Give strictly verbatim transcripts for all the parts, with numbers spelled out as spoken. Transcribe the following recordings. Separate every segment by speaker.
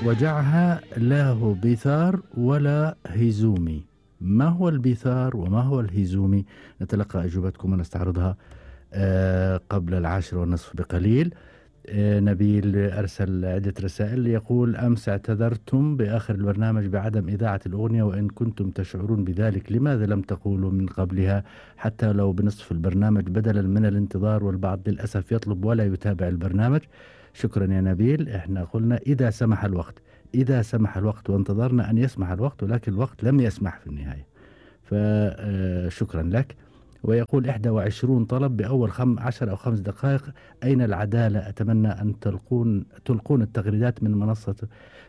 Speaker 1: وجعها لا هو بيثار ولا هيزومي. ما هو البيثار وما هو الهيزومي؟ نتلقى أجوبتكم ونستعرضها آه قبل العاشر والنصف بقليل. آه نبيل أرسل عدة رسائل يقول: أمس اعتذرتم بآخر البرنامج بعدم إذاعة الأغنية، وإن كنتم تشعرون بذلك لماذا لم تقولوا من قبلها حتى لو بنصف البرنامج بدلا من الانتظار، والبعض للأسف يطلب ولا يتابع البرنامج. شكرا يا نبيل، احنا قلنا إذا سمح الوقت، إذا سمح الوقت، وانتظرنا أن يسمح الوقت، ولكن الوقت لم يسمح في النهاية، فشكرا لك. ويقول: إحدى وعشرون طلب بأول خم عشر أو خمس دقائق، أين العدالة؟ أتمنى أن تلقون تلقون التغريدات من منصة.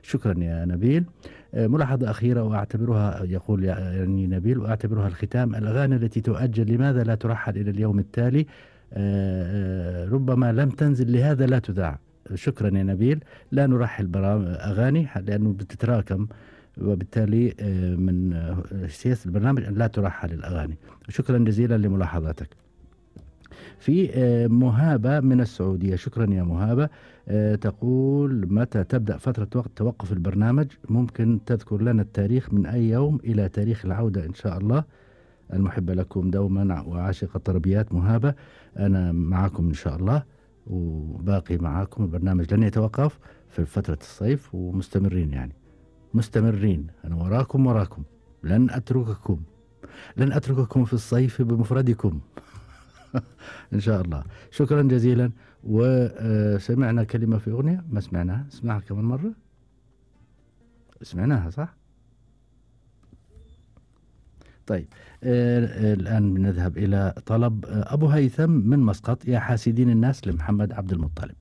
Speaker 1: شكرا يا نبيل. ملاحظة أخيرة وأعتبرها، يقول يعني نبيل، وأعتبرها الختام: الأغاني التي تؤجل لماذا لا ترحل إلى اليوم التالي؟ ربما لم تنزل لهذا لا تذاع. شكرا يا نبيل. لا نرحل برامج أغاني لأنه بتتراكم، وبالتالي من سياسة البرنامج أن لا ترحل الأغاني. شكرا جزيلا لملاحظاتك. في مهابة من السعودية، شكرا يا مهابة، تقول: متى تبدأ فترة وقت توقف البرنامج؟ ممكن تذكر لنا التاريخ من أي يوم إلى تاريخ العودة إن شاء الله؟ المحبة لكم دوما وعاشق الطربيات مهابة، أنا معكم إن شاء الله، وباقي معاكم. البرنامج لن يتوقف في فترة الصيف، ومستمرين يعني مستمرين. أنا وراكم وراكم، لن أترككم، لن أترككم في الصيف بمفردكم إن شاء الله. شكرا جزيلا. وسمعنا كلمة في أغنية ما سمعناها، اسمعها كمان مرة. سمعناها صح؟ طيب آه الآن بنذهب إلى طلب آه أبو هيثم من مسقط: يا حاسدين الناس، لمحمد عبد المطلب.